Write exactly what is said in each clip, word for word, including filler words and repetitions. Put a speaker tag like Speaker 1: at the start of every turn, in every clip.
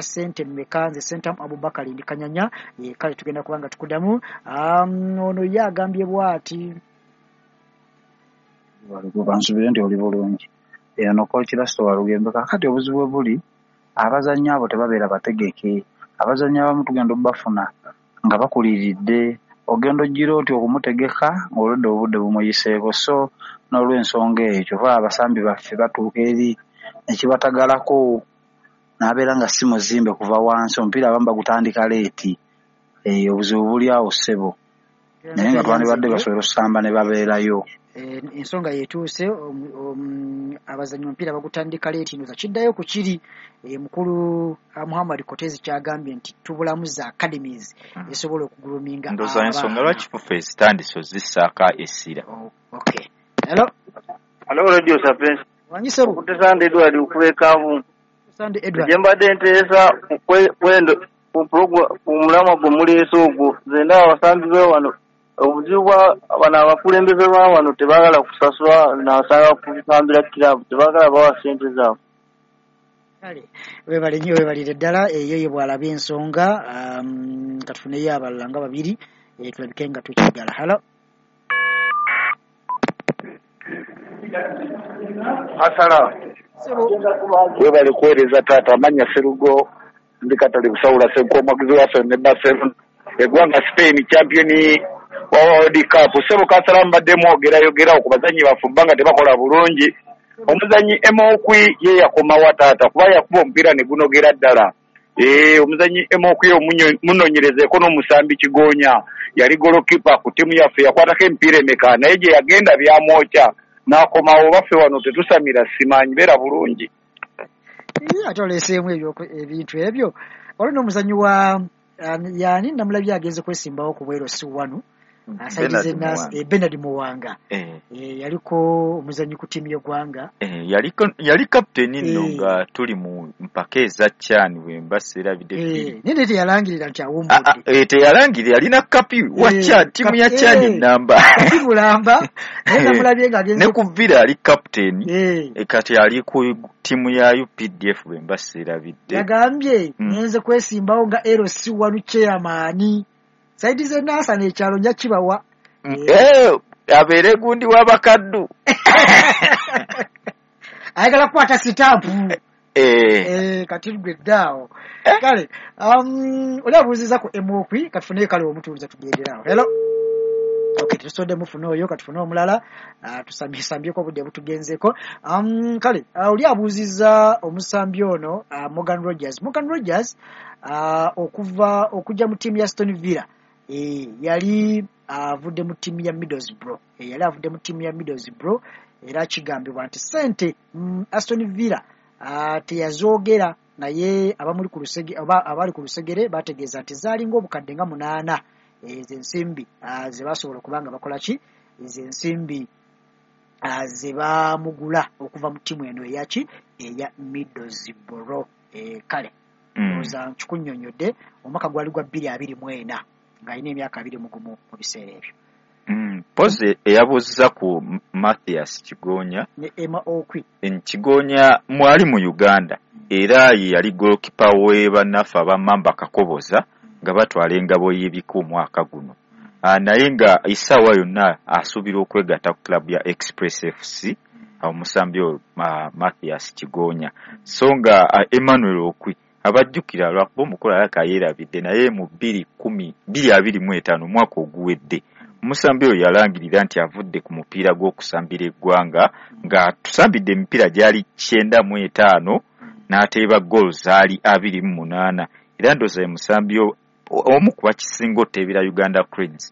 Speaker 1: Sente mmeka? Nze Sentamu Abubakar, ndi Kanyanya. eh, kale tugenda kubanga tukudamu. um, ono ye agambye bw'ati:
Speaker 2: Bansubire nti oli bulungi. Eno Coach Lasto Walugembe. Kakati obuzibu bwe buli, abazannyi abo tebabeera bategeke. Abazannyi abamu tugenda obbafuna nga bakuliridde, ogenda ojjira oti okumutegeka ng'olwedde obudde bumuyiseeko. So n'olw'ensonga eyo, kyova abasambi baffe batuuka eri nekibatagalako n'abeera nga si muzimbe kuva wansi. Omupiira abamu bagutandika late. Eh, obuzibu buli awo, ssebo, naye nga twandibadde basobola okusamba ne babeerayo.
Speaker 1: Eh, ensonga yetuuse, abazannyi omupiira bagutandika late. Ndoza kiddayo ku kiri eh, mukulu ah, Muhammad Kotezi kyagambye nti tubulamu za academies
Speaker 3: Mm.
Speaker 1: esobola okugroominga
Speaker 3: Ndowooza ensonga
Speaker 1: abaana.
Speaker 3: lwaki FUFA ezitandise ozissaako essira.
Speaker 1: Oh, okay, hello.
Speaker 4: Hello, Radio Sapiens.
Speaker 1: Wanyisebo.
Speaker 4: Okutesanda Edward okuva e Kanvu.
Speaker 1: Sande Edward.
Speaker 4: Gye mbadde nteesa ku kwe- kwendo ku program, ku mulamwa gwe muleese ogwo, nze ndaba abasambi be wano, obuzibu bwa bano abakulembeze ba wano, tebaagala kusasula nasanga kusambira kiraabu, tebaagala bawa ssente zaabwe.
Speaker 1: Kale webale nnyo, webalire ddala. Eyo ye bw'alaba ensonga. um, katufuneyo abalala nga babiri, eh, tulabike nga tukigala. Hello.
Speaker 5: Asala.
Speaker 1: Sebo.
Speaker 5: Webale kuweereza taata. Amanya Serugo, ndi Katale Busawula Senko, omuwagizi wa ne Barcelona, eggwanga Spain, champion wa World Cup. Sebo Kasala, mbadde mwogerayogerawo ku bazannyi baffe bba nga tebakola bulungi. Omuzannyi Emokwi ye yakomawa taata? Kuba yakuba omupiira ne gunogera ddala. Ee, omuzannyi Emokwi munoonyerezeeko, n'omusambi Kigonya, yali goalkeeper ku ttiimu yaffe, yakwatako emipiira emeka? Naye gye yagenda byamwokya n'akomawo. Baffe wano tetusamira, simanyi beera bulungi.
Speaker 1: Ii, ate oleeseemu ebyo- ebintu ebyo. Waliwo n'omuzannyi wa um, yani namulabye agenze kwesimbawo ku bwero si wanu.
Speaker 3: Bernard Muwanga.
Speaker 1: eh, Bernard Muwanga.
Speaker 3: Eh,
Speaker 1: eh, yaliko omuzannyi ku ttiimu y'eggwanga.
Speaker 3: eh, yaliko yali kapiteeni nno
Speaker 1: Eh.
Speaker 3: nga tuli mu mpaka eza CHAN, bwe mba seerabidde, bbiri.
Speaker 1: Eh, naye naye teyalangirira nti
Speaker 3: Ah, ah,
Speaker 1: awummudde.
Speaker 3: eh, teyalangirira, yalina kapi wa
Speaker 1: Eh,
Speaker 3: CHAN, ttiimu ya
Speaker 1: kap-
Speaker 3: CHAN
Speaker 1: eh,
Speaker 3: namba.
Speaker 1: Kapi mulamba, naye namulabye ng'agenze.
Speaker 3: Ne ku Villa ali kapiteeni.
Speaker 1: Eh,
Speaker 3: Eh, kati ali ku ttiimu ya U P D F, bwe mba seerabidde.
Speaker 1: Yagambye,
Speaker 3: Mm.
Speaker 1: "Ngenze kwesimbawo nga L C one chairman, side ze Nansana, ekyalo nja kibawa."
Speaker 3: Mm, eh, abeere gundi w'abakaddu.
Speaker 1: Ayagala kukwata sitampu.
Speaker 3: Eh,
Speaker 1: Eh, kati gwe ddaawo. Kale um, oli abuuziza ku Emokwi, katufuneyo kale omutuuliza tugenderawo. Hello. Okay, tetusodde mufune oyo, katufune omulala. uh, tusambyeko obudde butugenzeeko. um, kale uh, oli abuuziza omusambi ono, uh, Morgan Rogers. Morgan Rogers, uh, okuva okujja mu ttiimu ya Aston Villa, e, yali avudde uh, mu ttiimu ya Middlesbrough. e, yali avudde mu ttiimu ya Middlesbrough, era kigambibwa nti sente mm, Aston Villa uh, teyazoogera, naye abamuli ku lusege oba abali ku lusegere bategeeza nti zaalinga obukadde nga munaana ezo ensimbi uh, ze basobola okuba nga bakola ki, ezo ensimbi uh, ze bamugula okuva mu ttiimu eno eyaki, eya Middlesbrough. e, kale
Speaker 3: mm.
Speaker 1: ndowooza nkikunnyonnyodde. Omwaka gwali gwa bbiri abiri mu ena, ng'alina emyaka abiri mu gumu mu biseera ebyo.
Speaker 3: Mm. Pozi eyabuuziza ku M- Mathias Kigonya
Speaker 1: ne Emma Okwi.
Speaker 3: En Kigonya mwali mu Uganda, era ye yali goalkeeper we bannaffe abamamba Kakoboza nga batwala engabo y'ebika omwaka guno. Ah, naye nga essaawa yonna asuubira okwegatta ku club ya Express F C, omusambi oyo uh, Mathias Kigonya. So nga uh, Emmanuel Okwi abajjukira, lwakuba omukulu alaka yeerabidde, naye mu bbiri kumi bbiri abiri mu etaano, omwaka oguwedde, omusambi oyo yalangirira nti avudde ku mupiira gw'okusambira eggwanga, nga tusambidde emipiira gyali kyenda mu etaano n'ateeba goal zaali abiri mu munaana. Era ndowooza ye musambi o- omu ku bakisinga oteebera Uganda Cranes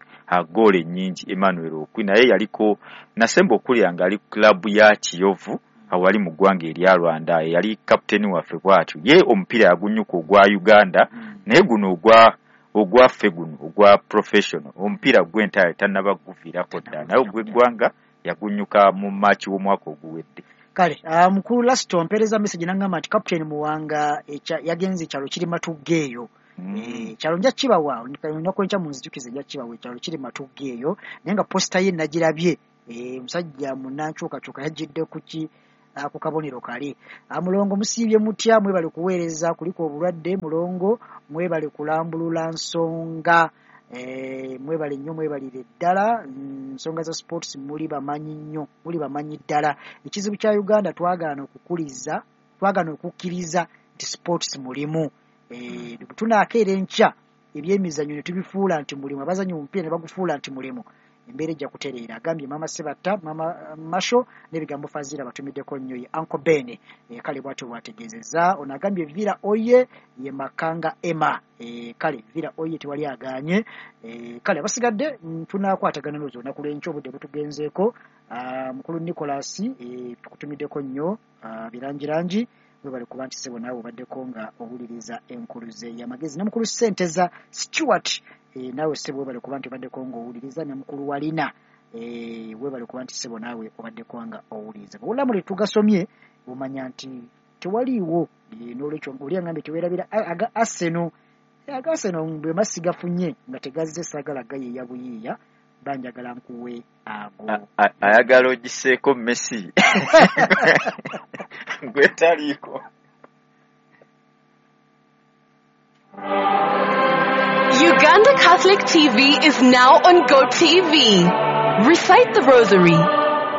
Speaker 3: goolo ennyingi, Emmanuel Okwi. Naye yaliko nasemba okulya nga ali ku club ya Kiyovu awali mu ggwanga erya Rwanda, yali kapiteeni waffe bw'atyo. Ye omupiira yagunyuka ogwa Uganda, naye guno ogwa ogwaffe guno ogwa professional, omupiira gw'entale tannaba guviirako ddala, naye ogw'eggwanga yagunyuka mu Maaki w'omwaka oguwedde.
Speaker 1: Kale uh, mukulu Lasito mpeereza message nangamba nti Captain Muwanga ekya- yagenze, ekyalo kiri Matugga eyo.
Speaker 3: Mm.
Speaker 1: Eh, ekyalo nja kibawa olunaku enkya, munzijukize, nja kibawa. Ekyalo kiri Matugga eyo, naye nga poster ye nagirabye. Eh, omusajja munankyukakyuka yajjidde ku ki, ku kabonero kale. Mulongo musiibye mutya, mwebale kuweereza, kuliko obulwadde. Mulongo mwebale kulambulula nsonga, eh, mwebale nnyo, mwebalire ddala. Nsonga za sports muli bamanyi nnyo, muli bamanyi ddala. Ekizibu kya Uganda twagaana okukuliza, twagaana okukkiriza nti sports mulimu. Eh, tunaakeera enkya ebyemizannyo ne tubifuula nti mulimu, abazannyi omupiira ne bagufuula nti mulimu, embeera ejja kutereera. Agambye Mama Sebatta, Mama Masho n'ebigambo Fazira batumiddeko nnyo ye Uncle Ben. E, kale bwatyo bwategeezezza. Ono agambye Villa Oye ye Makanga Emma. E, kale Villa Oye tewali aganye. E, kale abasigadde tunaakwatagana n'ozo olunaku lw'enkya, obudde butugenzeeko. Mukulu Nicholas, e, tukutumiddeko nnyo birangirangi, webale kuba nti ssebo naawe obaddeko nga owuliriza enkuluze y'amagezi. Ne mukulu Ssenteza Stewart, e, naawe ssebo webale kuba nti obaddeko ng'owuliriza. Ne mukulu Walina, e, webale kuba nti ssebo naawe obaddeko nga owuliriza. Bw'olamu lye tugasomye omanya nti tewaliiwo. E, n'olwekyo oli agambye teweerabira aga Arsenal. E, aga Arsenal bwe masigafunye nga tegazze saagala gayiiya buyiiya, banjagala nkuwe ago.
Speaker 3: Ayagala ogiseeko Messi gwe taliiko.
Speaker 6: Uganda Catholic T V is now on GoTV. Recite the Rosary,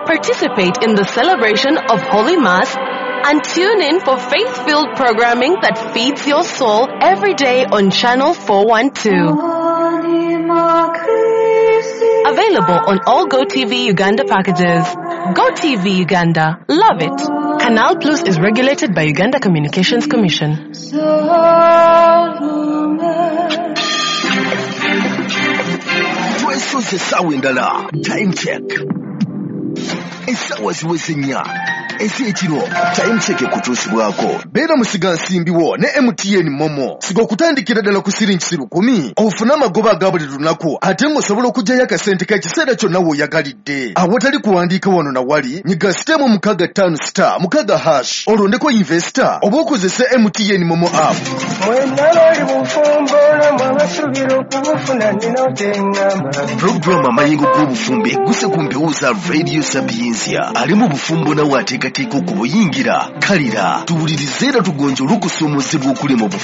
Speaker 6: participate in the celebration of Holy Mass, and tune in for faith-filled programming that feeds your soul every day on Channel four one two. Available on all GoTV Uganda packages. GoTV Uganda. Love it. Canal Plus is regulated by Uganda Communications Commission.
Speaker 7: Twesoze essaawa endala. Time check. Essaawa ziweze nnya ez'ekiro. Time check ekutuusibwako. Beera musigansimbiwo ne M T N Momo. Siga okutandikira ddala ku siringi lukumi ofune amagoba aga buli lunaku, ate ng'osobola okuggyayo akasente k'ekiseera kyonna w'oyagalidde. Awatali kuwandiika wano na wali, nyiga sitemu mukaaga ttaano star mukaaga hash olondeko investor oba okozese M T N Momo app. Pulogulaamu Amayengo g'obufumbo egguse ku mpewo za Radio Sapientia. Ali mu bufumbo nawe ateekateeka okubuyingira. Kalira tuwulirize era tugonje olukusoomozebwa okuli mu bufumbo.